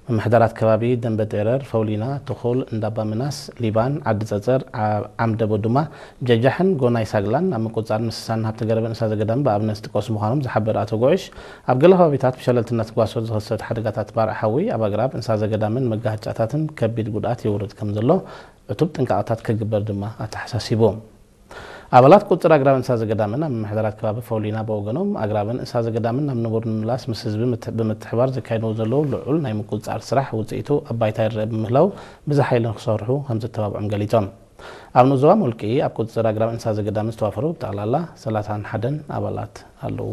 ምምሕዳራት ከባቢ ደንበ ጤረር፣ ፈውሊና፣ ትኹል፣ እንዳባ ምናስ፣ ሊባን፣ ዓዲ ጸጸር፣ ዓ-፣ ዓምደ ቦዱማ፣ ጀጃሕን ጎናይ ሳግላን ኣብ ምቁጽጻር እንስሳን ሃብቲ ገረብን እንስሳ ዘገዳም ብኣብነት ዝጥቀሱ ምዃኖም ዝሓበረ ኣቶ ጉዕሽ፣ ኣብ ገለ ከባቢታት ብሸለልትነት ጓሶት ዝኽሰት ሓደጋታት ባርዕ ሓዊ ኣብ ኣግራብ፣ እንስሳ ዘገዳምን መጋሃጫታትን ከቢድ ጉድኣት የውርድ ከም ዘሎ ዕቱብ ጥንቃቐታት ክግበር ድማ ኣተሓሳሲቡ። ኣባላት ቁጽር ኣግራብ እንስሳ ዘገዳምን ኣብ ምምሕዳራት ከባቢ ፈውሊና ብወገኖም፣ ኣግራብን እንስሳ ዘገዳምን ናብ ንቡር ንምምላስ ምስ ህዝቢ ምት-፣ ብምትሕባር ዘካይድዎ ዘለዉ ልዑል ናይ ምቁጽጻር ስራሕ ውጽኢቱ ኣብ ባይታ ይረአ ብምህላው ብዝሓ ኢሎም ክሰርሑ ከም ዘተባብዖም ገሊጾም። ኣብ ንኡስ ዞባ ሞልቂ ኣብ ቁጽጽር ኣግራብ እንስሳ ዘገዳምን ዝተዋፈሩ ብጠቕላላ ሰላሳን ሓደን ኣባላት ኣለዉ።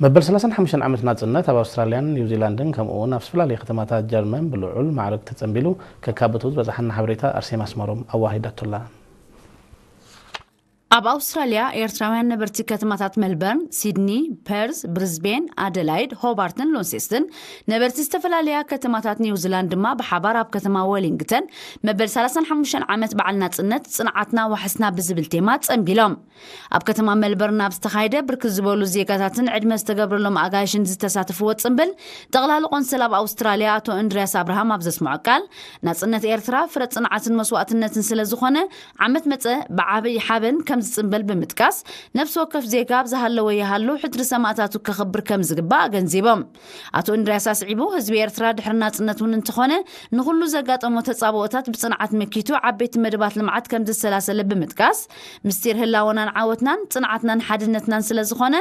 መበል ሰላሳን ሓሙሽተን ዓመት ናጽነት ኣብ ኣውስትራልያን ኒውዚላንድን ከምኡ እውን ኣብ ዝተፈላለዩ ከተማታት ጀርመን ብልዑል ማዕርግ ተጸንቢሉ ከካብቱ ዝበጽሓና ሓበሬታ ኣርሴማ ኣስመሮም ኣዋሂዳቶላ። ኣብ ኣውስትራልያ ኤርትራውያን ነበርቲ ከተማታት መልበርን፣ ሲድኒ፣ ፐርዝ፣ ብሪዝቤን፣ ኣደላይድ፣ ሆባርትን ሎንሴስትን፣ ነበርቲ ዝተፈላለያ ከተማታት ኒውዚላንድ ድማ ብሓባር ኣብ ከተማ ወሊንግተን መበል ሰላሳን ሓሙሽተን ዓመት በዓል ናጽነት ጽንዓትና ዋሕስና ብዝብል ቴማ ጸንቢሎም። ኣብ ከተማ መልበርን ኣብ ዝተኻየደ ብርክት ዝበሉ ዜጋታትን ዕድመ ዝተገብረሎም ኣጋይሽን ዝተሳተፍዎ ጽንብል፣ ጠቕላሊ ቆንስል ኣብ ኣውስትራልያ ኣቶ እንድርያስ ኣብርሃም ኣብ ዘስምዖ ቃል፣ ናጽነት ኤርትራ ፍረ ጽንዓትን መስዋእትነትን ስለ ዝኾነ፣ ዓመት መጸ ብዓብይ ሓበን ከም ዝጽንበል ብምጥቃስ፣ ነፍሲ ወከፍ ዜጋ ኣብ ዝሃለወ ይሃሉ ሕድሪ ሰማእታቱ ከኽብር ከም ዝግባእ ኣገንዚቦም። ኣቶ እንድርያስ ኣስዒቡ፣ ህዝቢ ኤርትራ ድሕሪ ናጽነት እውን እንተኾነ፣ ንኹሉ ዘጋጠሞ ተጻብኦታት ብጽንዓት መኪቱ ዓበይቲ መደባት ልምዓት ከም ዘሰላሰለ ብምጥቃስ፣ ምስጢር ህላወናን ዓወትናን ጽንዓትናን ሓድነትናን ስለ ዝኾነ፣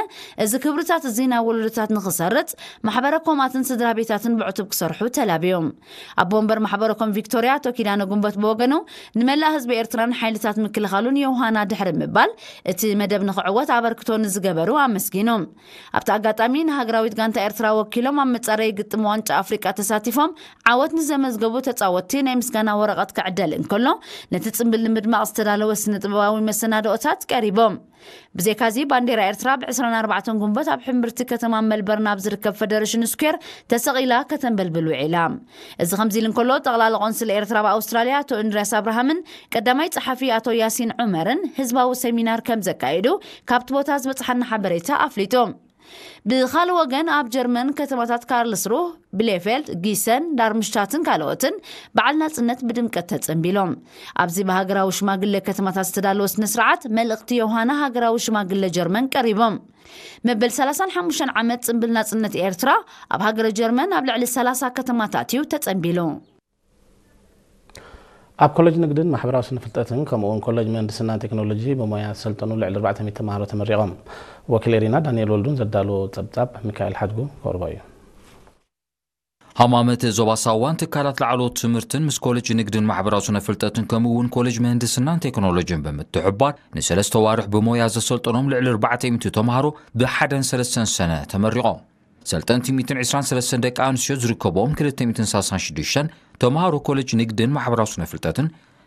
እዚ ክብርታት እዚ ናብ ወለዶታት ንኽሰርጽ፣ ማሕበረ ኮማትን ስድራ ቤታትን ብዕቱብ ክሰርሑ ተላብዮም። ኣቦ ወንበር ማሕበረ ኮም ቪክቶርያ ኣቶ ኪዳነ ጉንበት ብወገኑ፣ ንመላእ ህዝቢ ኤርትራን ሓይልታት ምክልኻሉን የውሃና ድሕሪ ምባል፣ እቲ መደብ ንኽዕወት ኣበርክቶ ንዝገበሩ ኣመስጊኑ። ኣብቲ ኣጋጣሚ ንሃገራዊት ጋንታ ኤርትራ ወኪሎም ኣብ መጻረዪ ግጥም ዋንጫ ኣፍሪቃ ተሳቲፎም ዓወት ንዘመዝገቡ ተጻወትቲ ናይ ምስጋና ወረቐት ክዕደል እንከሎ፣ ነቲ ጽምብል ንምድማቕ ዝተዳለወ ስነ ጥበባዊ መሰናድኦታት ቀሪቦም። ብዘይካዚ ባንዴራ ኤርትራ ብ ዕስራን ኣርባዕተን ጉንበት ኣብ ሕምብርቲ ከተማ መልበርን ኣብ ዝርከብ ፈደረሽን ስኩዌር ተሰቒላ ከተንበልብል ውዒላ። እዚ ከምዚ ኢሉ እንከሎ፣ ጠቕላሊ ቆንስል ኤርትራ ኣብ ኣውስትራልያ ኣቶ እንድርያስ ኣብርሃምን ቀዳማይ ጸሓፊ ኣቶ ያሲን ዑመርን ህዝባዊ ሰሚናር ከም ዘካየዱ ካብቲ ቦታ ዝበጽሓና ሓበሬታ ኣፍሊጡ። ብኻልእ ወገን፣ ኣብ ጀርመን ከተማታት ካርልስሩህ፣ ብሌፌልድ፣ ጊሰን፣ ዳርምሽታትን ካልኦትን በዓል ናጽነት ብድምቀት ተጸንቢሎም። ኣብዚ ብሃገራዊ ሽማግለ ከተማታት ዝተዳለወ ስነ ስርዓት፣ መልእኽቲ ዮሃና ሃገራዊ ሽማግለ ጀርመን ቀሪቦም። መበል ሰላሳን ሓሙሽተን ዓመት ጽምብል ናጽነት ኤርትራ ኣብ ሃገረ ጀርመን ኣብ ልዕሊ ሰላሳ ከተማታት እዩ ተጸንቢሉ። ኣብ ኮሌጅ ንግድን ማሕበራዊ ስነ ፍልጠትን ከምኡ እውን ኮሌጅ ምህንድስናን ቴክኖሎጂ ብሞያ ዝሰልጠኑ ልዕሊ ኣርባዕተ ሚእቲ ተምሃሮ ተመሪቖም። ወኪል ኤሪና ዳንኤል ወልዱን ዘዳለዎ ጸብጻብ ሚካኤል ሓድጉ ከቕርቦ እዩ። ሃማመት ዞባ ሳዋን ትካላት ላዕለዎት ትምህርትን ምስ ኮሌጅ ንግድን ማሕበራዊ ስነ ፍልጠትን ከምኡ እውን ኮሌጅ ምህንድስናን ቴክኖሎጂን ብምትሕባር ንሰለስተ ዋርሕ ብሞያ ዘሰልጠኖም ልዕሊ ኣርባዕተ ሚእቲ ተምሃሮ ብሓደን ሰለስተን ሰነ ተመሪቖም። ሰልጠንቲ ሚእትን ዕስራን ሰለስተን ደቂ ኣንስትዮ ዝርከብኦም ክልተ ሚእትን ሰላሳን ሽዱሽተን ተምሃሮ ኮሌጅ ንግድን ማሕበራዊ ስነ ፍልጠትን፣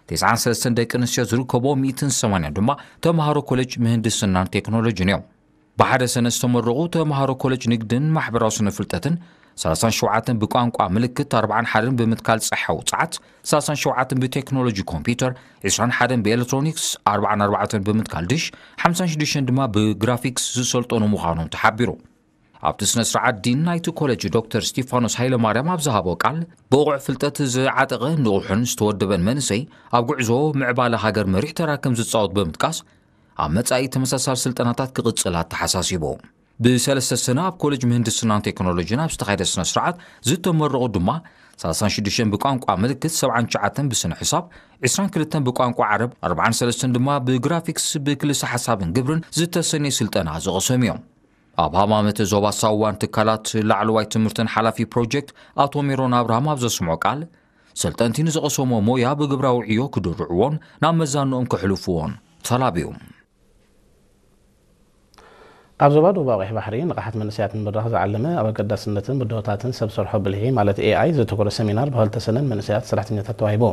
ተስዓን ሰለስተን ደቂ ኣንስትዮ ዝርከብኦም ሚእትን ሰማንያን ድማ ተምሃሮ ኮሌጅ ምህንድስናን ቴክኖሎጂን እዮም። ብሓደ ሰነ ዝተመረቑ ተምሃሮ ኮሌጅ ንግድን ማሕበራዊ ስነ ፍልጠትን፣ ሰላሳን ሸውዓተን ብቋንቋ ምልክት፣ ኣርባዓን ሓደን ብምትካል ጸሓ ውጽዓት፣ ሰላሳን ሸውዓተን ብቴክኖሎጂ ኮምፒውተር፣ ዕስራን ሓደን ብኤሌክትሮኒክስ፣ ኣርባዓን ኣርባዕተን ብምትካል ድሽ፣ ሓምሳን ሽዱሽተን ድማ ብግራፊክስ ዝሰልጠኑ ምዃኖም ተሓቢሩ። ኣብቲ ስነ ስርዓት ዲን ናይቲ ኮሌጅ ዶክተር ስቲፋኖስ ሃይለማርያም ኣብ ዝሃቦ ቃል፣ ብቑዕ ፍልጠት ዝዓጠቐ ንቑሕን ዝተወደበን መንእሰይ ኣብ ጉዕዞ ምዕባለ ሃገር መሪሕ ተራ ከም ዝጻወት ብምጥቃስ፣ ኣብ መጻኢ ተመሳሳሊ ስልጠናታት ክቕጽል ኣተሓሳሲቡ። ብሰለስተ ሰነ ኣብ ኮሌጅ ምህንድስናን ቴክኖሎጂን ኣብ ዝተኻየደ ስነ ስርዓት ዝተመረቑ ድማ፣ ሰላሳን ሽዱሽተን ብቋንቋ ምልክት፣ ሰብዓን ትሽዓተን ብስነ ሕሳብ፣ ዕስራን ክልተን ብቋንቋ ዓረብ፣ ኣርባዓን ሰለስተን ድማ ብግራፊክስ ብክልሰ ሓሳብን ግብርን ዝተሰነየ ስልጠና ዝቐሰሙ እዮም። ኣብ ሃማመተ ዞባ ሳዋን ትካላት ላዕለዋይ ትምህርትን ሓላፊ ፕሮጀክት ኣቶ ሜሮን ኣብርሃም ኣብ ዘስምዖ ቃል፣ ሰልጠንቲ ንዝቐሰሞ ሞያ ብግብራዊ ዕዮ ክድርዕዎን ናብ መዛንኦም ከሕልፍዎን ተላብዩ። ኣብ ዞባ ደቡባዊ ቀይሕ ባሕሪ ንቕሓት መንእሰያት ንምብራኽ ዝዓለመ፣ ኣብ ኣገዳስነትን ብድሆታትን ሰብ ሰርሖ ብልሒ ማለት ኤ ኣይ ዘተኮረ ሰሚናር ብክልተ ሰነን መንእሰያት ሰራሕተኛታት ተዋሂቡ።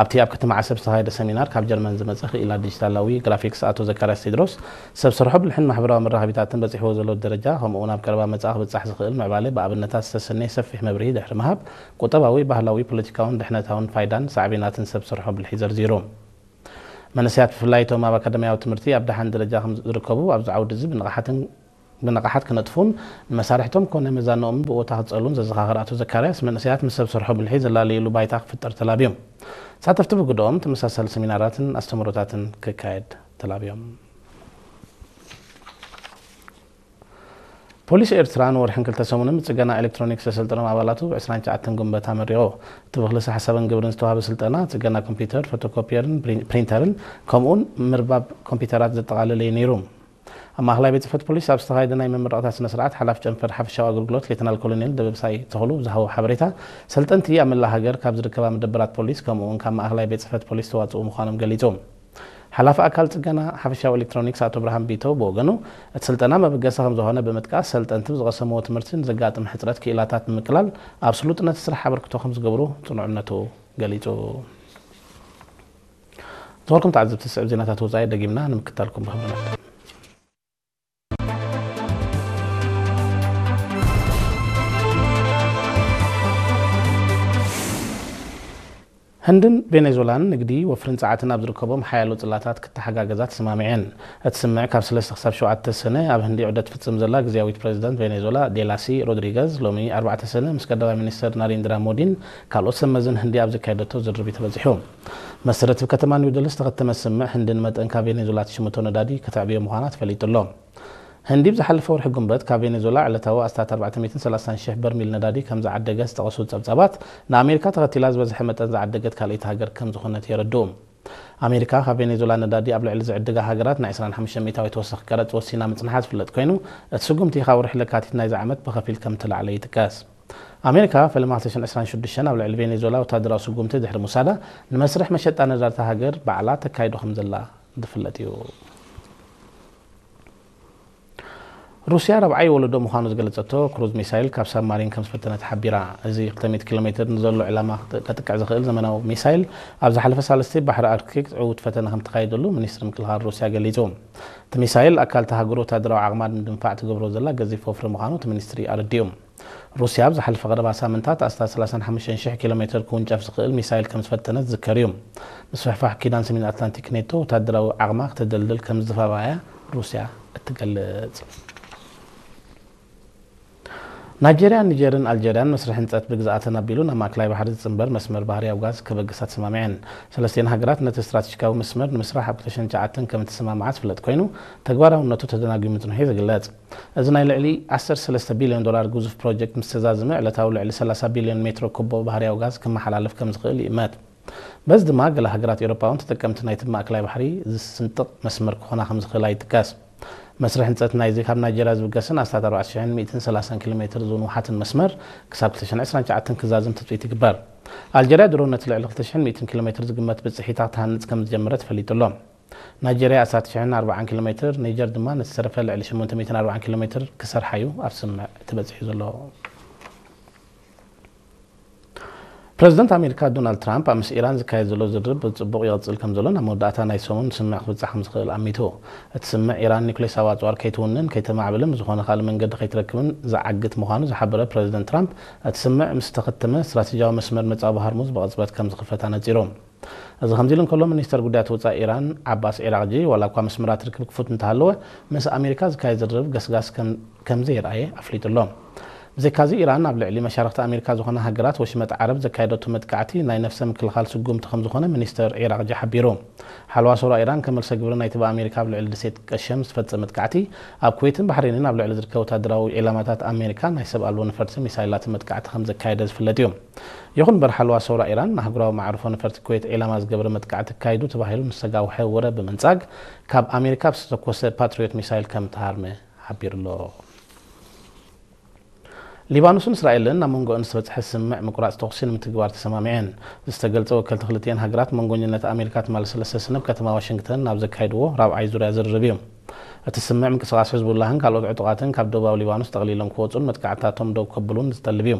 ኣብቲ ኣብ ከተማ ዓሰብ ዝተኻየደ ሰሚናር ካብ ጀርመን ዝመጸ ክኢላ ዲጂታላዊ ግራፊክስ ኣቶ ዘካርያስ ቴድሮስ፣ ሰብ ሰርሖ ብልሕን ማሕበራዊ መራኸቢታትን በጺሕዎ ዘሎ ደረጃ፣ ከምኡ እውን ኣብ ቀረባ መጻኢ ክብጻሕ ዝኽእል ምዕባለ ብኣብነታት ዝተሰነየ ሰፊሕ መብርሂ ድሕሪ ምሃብ፣ ቁጠባዊ፣ ባህላዊ፣ ፖለቲካውን ድሕነታውን ፋይዳን ሳዕቤናትን ሰብ ሰርሖ ብልሒ ዘርዚሩ። መንእሰያት ብፍላይ እቶም ኣብ ኣካዳሚያዊ ትምህርቲ ኣብ ደሓን ደረጃ ከም ዝርከቡ ኣብዚ ዓውዲ እዚ ብንቕሓትን ብንቕሓት ክነጥፉን ንመሳርሕቶም ኮነ መዛንኦም ብቦታ ክጸሉን ዘዘኻኸረ ኣቶ ዘካርያስ፣ መንእሰያት ምስ ሰብ ሰርሖ ብልሒ ዘላለይሉ ባይታ ክፍጠር ተላብዮም። ተሳተፍቲ ብግደኦም ተመሳሳሊ ሰሚናራትን ኣስተምህሮታትን ክካየድ ተላብዮም። ፖሊስ ኤርትራ ንወርሕን ክልተ ሰሙንን ብጽገና ኤሌክትሮኒክስ ዘሰልጠኖም ኣባላቱ ብ ዕስራን ትሽዓተን ጉንበት ኣመሪቑ። እቲ ብክልሰ ሓሳብን ግብርን ዝተዋህበ ስልጠና ጽገና ኮምፒውተር፣ ፎቶኮፒየርን ፕሪን-፣ ፕሪንተርን ከምኡውን ምርባብ ኮምፒውተራት ዘጠቓለለ እዩ ነይሩ። ኣብ ማእኸላይ ቤት ጽሕፈት ፖሊስ ኣብ ዝተኻየደ ናይ መመረቕታ ስነ ስርዓት ሓላፊ ጨንፈር ሓፈሻዊ ኣገልግሎት ሌተናል ኮሎኔል ደበሳይ ተኽሉ ብዝሃቦ ሓበሬታ፣ ሰልጠንቲ ኣብ መላእ ሃገር ካብ ዝርከባ መደበራት ፖሊስ ከምኡውን ካብ ማእኸላይ ቤት ጽሕፈት ፖሊስ ዝተዋጽኡ ምዃኖም ገሊጹ። ሓላፊ ኣካል ጽገና ሓፈሻዊ ኤሌክትሮኒክስ ኣቶ ብርሃን ቢተው ብወገኑ፣ እቲ ስልጠና መበገሲ ከም ዝኾነ ብምጥቃስ፣ ሰልጠንቲ ብዝቐሰምዎ ትምህርቲ ንዘጋጥም ሕጽረት ክኢላታት ብምቅላል ኣብ ስሉጥነት ስራሕ ኣበርክቶ ከም ዝገብሩ ጽኑዕ እምነቱ ገሊጹ። ዝበልኩም ተዓዘብቲ፣ ዝስዕብ ዜናታት ወጻኢ ደጊምና ንምክታልኩም ብኽብሪ ንዕድም። ህንድን ቬኔዙላን ንግዲ፣ ወፍርን ጸዓትን ኣብ ዝርከቦም ሓያሎ ጽላታት ክተሓጋገዛ ተሰማሚዐን። እቲ ስምምዕ ካብ ሰለስተ ክሳብ ሸውዓተ ሰነ ኣብ ህንዲ ዑደት ትፍጽም ዘላ ግዝያዊት ፕሬዚደንት ቬኔዙላ ዴላሲ ሮድሪገዝ ሎሚ ኣርባዕተ ሰነ ምስ ቀዳማይ ሚኒስተር ናሬንድራ ሞዲን ካልኦት ሰመዝን ህንዲ ኣብ ዘካየደቶ ዝርርብ እዩ ተበጺሑ። መሰረት ኣብ ከተማ ኒው ደልሂ ዝተኸተመ ስምምዕ ህንዲ ንመጠን ካብ ቬኔዙላ ትሽምቶ ነዳዲ ከተዕብዮ ምዃና ተፈሊጡ ኣሎ። ህንዲ ብዝሓለፈ ወርሒ ጉንበት ካብ ቬኔዙላ ዕለታዊ ኣስታት ኣርባዕተ ሚእትን ሰላሳን ሽሕ በርሚል ነዳዲ ከም ዝዓደገት ዝጠቐሱ ጸብጻባት፣ ንኣሜሪካ ተኸቲላ ዝበዝሐ መጠን ዝዓደገት ካልኣይቲ ሃገር ከም ዝኾነት የረድኡ። ኣሜሪካ ካብ ቬኔዙላ ነዳዲ ኣብ ልዕሊ ዝዕድጋ ሃገራት ናይ ዕስራን ሓሙሽተ ሚእታዊት ተወሳኺ ቀረጽ ወሲና ምጽንሓ ዝፍለጥ ኮይኑ፣ እቲ ስጉምቲ ካብ ወርሒ ለካቲት ናይዚ ዓመት ብኸፊል ከም እተላዕለ ይጥቀስ። ኣሜሪካ ፈለማ ክልተ ሽሕን ዕስራን ሽዱሽተን ኣብ ልዕሊ ቬኔዙላ ወታደራዊ ስጉምቲ ድሕሪ ምውሳዳ፣ ንመስርሕ መሸጣ ነዳዲ እታ ሃገር ባዕላ ተካይዶ ከም ዘላ ዝፍለጥ እዩ። ሩስያ ራብዓይ ወለዶ ምዃኑ ዝገለጸቶ ክሩዝ ሚሳይል ካብ ሳብማሪን ከም ዝፈተነ ተሓቢራ። እዚ ክልተ ሚእቲ ኪሎ ሜትር ንዘሎ ዕላማ ከጥቅዕ ዝኽእል ዘመናዊ ሚሳይል፣ ኣብ ዝሓለፈ ሳልስቲ ባሕሪ ኣርክቲክ ዕዉት ፈተነ ከም ተኻየደሉ ሚኒስትሪ ምክልኻል ሩስያ ገሊጹ። እቲ ሚሳይል ኣካል እታ ሃገር ወታደራዊ ዓቕማ ንምድንፋዕ ትገብሮ ዘላ ገዚፍ ወፍሪ ምዃኑ እቲ ሚኒስትሪ ኣረዲኡ። ሩስያ ኣብ ዝሓለፈ ቀረባ ሳምንታት ኣስታት ሰላሳን ሓሙሽተን ሽሕ ኪሎ ሜትር ክውንጨፍ ዝኽእል ሚሳይል ከም ዝፈተነት ዝዝከር እዩ። ምስፍሕፋሕ ኪዳን ሰሜን ኣትላንቲክ ኔቶ ወታደራዊ ዓቕማ ክተደልድል ከም ዝተባባኣያ ሩስያ እትገልጽ። ናይጀርያን ኒጀርን ኣልጀርያን መስርሕ ህንጸት ብግዝኣተን ኣቢሉ ናብ ማእከላይ ባሕሪ ዝጽንበር መስመር ባህርያዊ ጋዝ ከበግሳ ተሰማሚዐን። ሰለስቲኤን ሃገራት ነቲ ስትራቴጂካዊ መስመር ንምስራሕ ኣብ ክልተ ሽሕን ትሽዓተን ከም እተሰማምዓ ዝፍለጥ ኮይኑ፣ ተግባራውነቱ ተደናጒዩ ምጽንሑ እዩ ዝግለጽ። እዚ ናይ ልዕሊ ዓሰርተ ሰለስተ ቢልዮን ዶላር ግዙፍ ፕሮጀክት ምስ ተዛዘመ፣ ዕለታዊ ልዕሊ ሰላሳ ቢልዮን ሜትሮ ኩቦ ባህርያዊ ጋዝ ክመሓላለፍ ከም ዝኽእል ይእመት። በዚ ድማ ገለ ሃገራት ኤውሮጳ እውን ተጠቀምቲ ናይቲ ብማእከላይ ባሕሪ ዝስንጥቕ መስመር ክኾና ከም ዝኽእላ ይጥቀስ። መስርሕ ህንጸት ናይዚ ካብ ናይጀርያ ዝብገስን ኣስታት ኣርባዕተ ሽሕን ሚእትን ሰላሳን ኪሎ ሜትር ዝንውሓትን መስመር ክሳብ ክልተ ሽሕን ዕስራን ትሽዓተን ክዛዝም ትጽቢት ይግበር። ኣልጀርያ ድሮ ነቲ ልዕሊ ክልተ ሽሕን ሚእትን ኪሎ ሜትር ዝግመት ብጽሒታ ክትሃንጽ ከም ዝጀመረ ተፈሊጡ ኣሎ። ናይጀርያ ኣስታት ትሽዓን ኣርባዓን ኪሎ ሜትር፣ ኒጀር ድማ ነቲ ዝተረፈ ልዕሊ ሽሞንተ ሚእትን ኣርባዓን ኪሎ ሜትር ክሰርሓ እዩ ኣብ ስምምዕ ተበጺሑ ዘሎ። ፕረዚደንት ኣሜሪካ ዶናልድ ትራምፕ ኣብ ምስ ኢራን ዝካየድ ዘሎ ዝርርብ ብጽቡቕ ይቕጽል ከም ዘሎን ኣብ መወዳእታ ናይ ሰሙን ስምምዕ ክብጻሕ ከም ዝኽእል ኣሚቱ። እቲ ስምምዕ ኢራን ኒኩሌሳዊ ኣጽዋር ከይትውንን ከይተማዕብልን ብዝኾነ ካልእ መንገዲ ከይትረክብን ዝዓግት ምዃኑ ዝሓበረ ፕረዚደንት ትራምፕ፣ እቲ ስምምዕ ምስ ተኸተመ ስትራቴጂያዊ መስመር መጻወ ሆርሙዝ ብቕጽበት ከም ዝኽፈት ኣነጺሩ። እዚ ከምዚ ኢሉ እንከሎ፣ ሚኒስተር ጉዳያት ወጻኢ ኢራን ዓባስ ዒራቕጂ፣ ዋላ እኳ መስመራት ርክብ ክፉት እንተሃለወ፣ ምስ ኣሜሪካ ዝካየድ ዝርርብ ገስጋስ ከም፣ ከም ዘየርኣየ ኣፍሊጡ ኣሎ። ብዘይካዚ፣ ኢራን ኣብ ልዕሊ መሻርኽቲ ኣሜሪካ ዝኾና ሃገራት ወሽመጥ ዓረብ ዘካየደቶ መጥቃዕቲ ናይ ነፍሰ ምክልኻል ስጉምቲ ከም ዝኾነ ሚኒስተር ዒራቕጂ ሓቢሩ። ሓለዋ ሰውራ ኢራን ከም መልሰ ግብሪ ናይቲ ብኣሜሪካ ኣብ ልዕሊ ደሴት ቀሸም ዝፈጸመ መጥቃዕቲ፣ ኣብ ኩዌትን ባሕሬንን ኣብ ልዕሊ ዝርከቡ ወታደራዊ ዒላማታት ኣሜሪካ ናይ ሰብ ኣልቦ ነፈርቲ ሚሳይላትን መጥቃዕቲ ከም ዘካየደ ዝፍለጥ እዩ። ይኹን እምበር፣ ሓለዋ ሰውራ ኢራን ንኣህጉራዊ መዓርፎ ነፈርቲ ኩዌት ዒላማ ዝገበረ መጥቃዕቲ ኣካይዱ ተባሂሉ ንዝተጋውሐ ወረ ብምንጻግ፣ ካብ ኣሜሪካ ብዝተተኮሰ ፓትሪዮት ሚሳይል ከም ተሃርመ ሓቢሩ ኣሎ። ሊባኖስን እስራኤልን ናብ መንጎኣን ዝተበጽሐ ስምምዕ ምቁራጽ ተኹሲ ንምትግባር ተሰማሚዐን። ዝተገልጸ ወከልቲ ክልቲኤን ሃገራት መንጎኝነት ኣሜሪካ ትማሊ ሰለስተ ሰነ ኣብ ከተማ ዋሽንግተን ናብ ዘካየድዎ ራብዓይ ዙርያ ዝርርብ እዩ። እቲ ስምምዕ ምንቅስቓስ ሕዝቡላህን ካልኦት ዕጡቓትን ካብ ደቡባዊ ሊባኖስ ጠቕሊሎም ክወጹን መጥቃዕትታቶም ደው ከብሉን ዝጠልብ እዩ።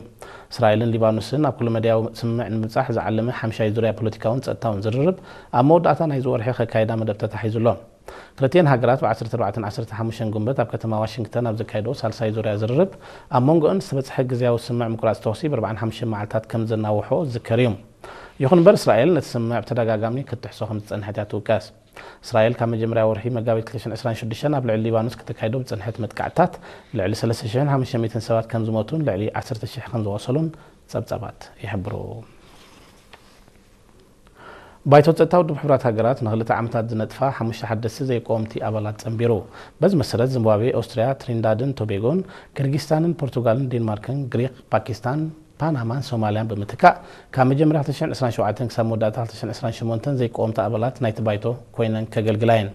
እስራኤልን ሊባኖስን ኣብ ኩሉ መዳያዊ ስምምዕ ንምብጻሕ ዝዓለመ ሓምሻይ ዙርያ ፖለቲካውን ጸጥታውን ዝርርብ ኣብ መወዳእታ ናይዚ ወርሒ ከካይዳ መደብ ተታሒዙ ኣሎ። ክልቲኤን ሃገራት ብ ዓሰርተ ኣርባዕተን ዓሰርተ ሓሙሽተን ጉንበት ኣብ ከተማ ዋሽንግተን ኣብ ዘካየድኦ ሳልሳይ ዙርያ ዝርርብ፣ ኣብ መንጎኣን ዝተበጽሐ ግዝያዊ ስምምዕ ምቁራጽ ተኹሲ ብ ኣርባዓን ሓሙሽተን መዓልታት ከም ዘናውሖ ዝዝከር እዩ። ይኹን እምበር፣ እስራኤል ነቲ ስምምዕ ብተደጋጋሚ ክትጥሕሶ ከም ዝጸንሐት እያ ትውቀስ። እስራኤል ካብ መጀመርያ ወርሒ መጋቢት ክልተ ሽሕን ዕስራን ሽዱሽተን ኣብ ልዕሊ ሊባኖስ ከተካይዶ ብጽንሐት መጥቃዕትታት ልዕሊ ሰለስተ ሽሕን ሓሙሽተ ሚእትን ሰባት ከም ዝሞቱን ልዕሊ ዓሰርተ ሽሕ ከም ዝቖሰሉን ጸብጻባት ይሕብሩ። ባይቶ ጸጥታ ውድብ ሕቡራት ሃገራት ንኽልተ ዓመታት ዝነጥፋ ሓሙሽተ ሓደስቲ ዘይቀወምቲ ኣባላት ጸንቢሩ። በዚ መሰረት ዚምባብዌ፣ ኦስትርያ፣ ትሪንዳድን ቶቤጎን፣ ኪርጊስታንን ፖርቱጋልን ዴንማርክን፣ ግሪክ፣ ፓኪስታን፣ ፓናማን ሶማልያን ብምትካእ ካብ መጀመርያ ክልተ ሽሕን ዕስራን ሸውዓተን ክሳብ መወዳእታ ክልተ ሽሕን ዕስራን ሸሞንተን ዘይቀወምቲ ኣባላት ናይቲ ባይቶ ኮይነን ከገልግላ እየን።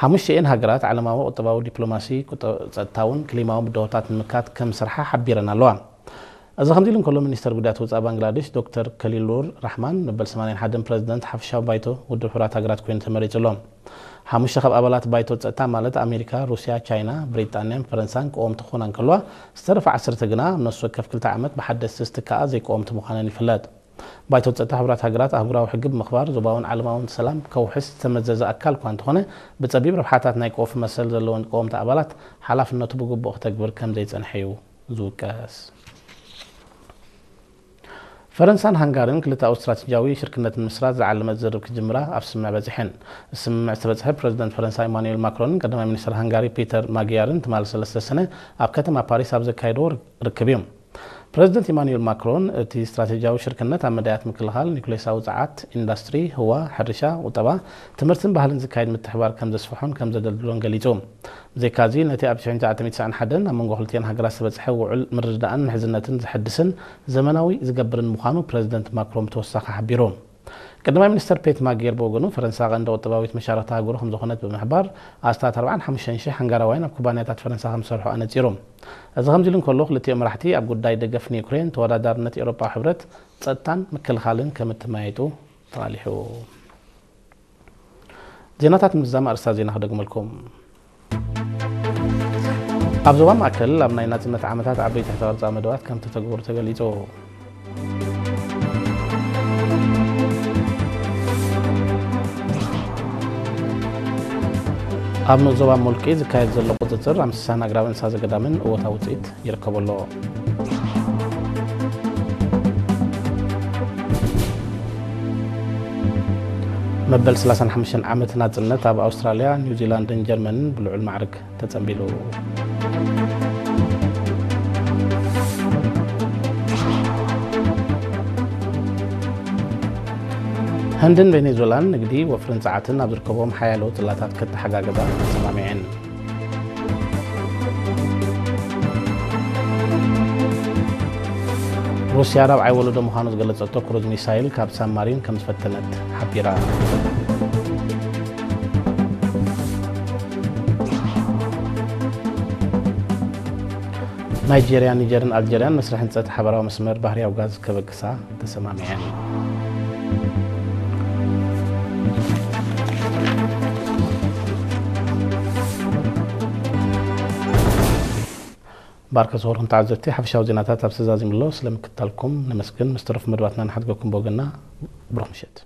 ሓሙሽተኤን ሃገራት ዓለማዊ ቁጠባዊ፣ ዲፕሎማሲ፣ ቁጠ-፣ ጸጥታውን ክሊማውን ብድሆታት ንምክታት ከም ዝሰርሓ ሓቢረን ኣለዋ። እዚ ከምዚ ኢሉ እንከሎ፣ ሚኒስተር ጉዳያት ወጻኢ ባንግላዴሽ ዶክተር ከሊሉር ራሕማን መበል ሰማንያን ሓደን ፕረዚደንት ሓፈሻዊ ባይቶ ውድብ ሕቡራት ሃገራት ኮይኑ ተመሪጹ ኣሎ። ሓሙሽተ ካብ ኣባላት ባይቶ ጸጥታ ማለት ኣሜሪካ፣ ሩስያ፣ ቻይና፣ ብሪጣንያን ፈረንሳን ቀወምቲ ክኾና እንከለዋ፣ ዝተረፋ ዓሰርተ ግና ኣብ ነፍሲ ወከፍ ክልተ ዓመት ብሓደስቲ ዝትክኣ ዘይቀወምቲ ምዃነን ይፍለጥ። ባይቶ ጸጥታ ሕቡራት ሃገራት ኣህጉራዊ ሕጊ ብምኽባር ዞባውን ዓለማውን ሰላም ከውሕስ ዝተመዘዘ ኣካል እኳ እንተኾነ፣ ብጸቢብ ረብሓታት ናይ ቀውፊ መሰል ዘለወን ቀወምቲ ኣባላት ሓላፍነቱ ብግቡእ ክተግብር ከም ዘይጸንሐ እዩ ዝውቀስ። ፈረንሳን ሃንጋሪን ክልተኣዊ ስትራቴጂያዊ ሽርክነት ንምስራት ዝዓለመ ዝርርብ ክጅምራ ኣብ ስምምዕ በጺሐን። ስምምዕ ዝተበጽሐ ፕረዚደንት ፈረንሳ ኢማኑኤል ማክሮንን ቀዳማይ ሚኒስትር ሃንጋሪ ፒተር ማግያርን ትማሊ ሰለስተ ሰነ ኣብ ከተማ ፓሪስ ኣብ ዘካየድዎ ርክብ እዩ። ፕረዚደንት ኢማኑኤል ማክሮን እቲ ስትራቴጂያዊ ሽርክነት ኣብ መዳያት ምክልኻል፣ ኒውክሌሳዊ ጸዓት፣ ኢንዳስትሪ፣ ህዋ፣ ሕርሻ፣ ቁጠባ፣ ትምህርትን ባህልን ዝካየድ ምትሕባር ከም ዘስፍሖን ከም ዘደልድሎን ገሊጹ። ብዘይካዚ፣ ነቲ ኣብ ሽሕን ትሽዓተ ሚእትን ትስዓን ሓደን ኣብ መንጎ ክልቲኣን ሃገራት ዝተበጽሐ ውዑል ምርድዳእን ምሕዝነትን ዘሐድስን ዘመናዊ ዝገብርን ምዃኑ ፕረዚደንት ማክሮን ብተወሳኺ ሓቢሩ። ቀዳማይ ሚኒስተር ፔት ማጌር ብወገኑ፣ ፈረንሳ ቀንዲ ቁጠባዊት መሻርኽቲ ሃገሩ ከም ዝኾነት ብምሕባር፣ ኣስታት ኣርባዓን ሓሙሽተን ሽሕ ሃንጋራውያን ኣብ ኩባንያታት ፈረንሳ ከም ዝሰርሑ ኣነጺሩ። እዚ ከምዚ ኢሉ እንከሎ፣ ክልቲኦም መራሕቲ ኣብ ጉዳይ ደገፍ ንዩክሬን፣ ተወዳዳርነት ኤውሮጳዊ ሕብረት፣ ጸጥታን ምክልኻልን ከም እተመያየጡ ተቓሊሑ። ዜናታት ምዝዛም ኣርእስታት ዜና ክደግመልኩም። ኣብ ዞባ ማእከል ኣብ ናይ ናጽነት ዓመታት ዓበይቲ ሕተ ቅርጻ መደባት ከም ተተግበሩ ተገሊጹ። ኣብ ንኡስ ዞባ ሞልቂ ዝካየድ ዘሎ ቁጽጽር ኣብ ምስሳን ኣግራብ እንስሳ ዘገዳምን እወታዊ ውጽኢት ይርከቦ ኣሎ። መበል ሰላሳን ሓሙሽተን ዓመት ናጽነት ኣብ ኣውስትራልያ፣ ኒውዚላንድን ጀርመንን ብልዑል ማዕርግ ተጸንቢሉ። ህንድን ቬኔዙላን ንግዲ፣ ወፍርን ጸዓትን ኣብ ዝርከቦም ሓያሎ ጽላታት ከተሓጋግዛ ተሰማሚዐን። ሩስያ ራብዓይ ወለዶ ምዃኑ ዝገለጸቶ ክሩዝ ሚሳይል ካብ ሳብማሪን ከም ዝፈተነት ሓቢራ። ናይጄርያ፣ ኒጀርን ኣልጀርያን መስርሕ ህንጸት ሓበራዊ መስመር ባህርያዊ ጋዝ ከበግሳ ተሰማሚዐን። ባርከ ዝኸበርኩም ተዓዘብቲ፣ ሓፈሻዊ ዜናታት ኣብ ተዛዚሙ ኣሎ። ስለምክትታልኩም ነመስግን። ምስ ተረፉ መደባትና ንሓድገኩም ብወገንና። ብሩኽ ምሸት።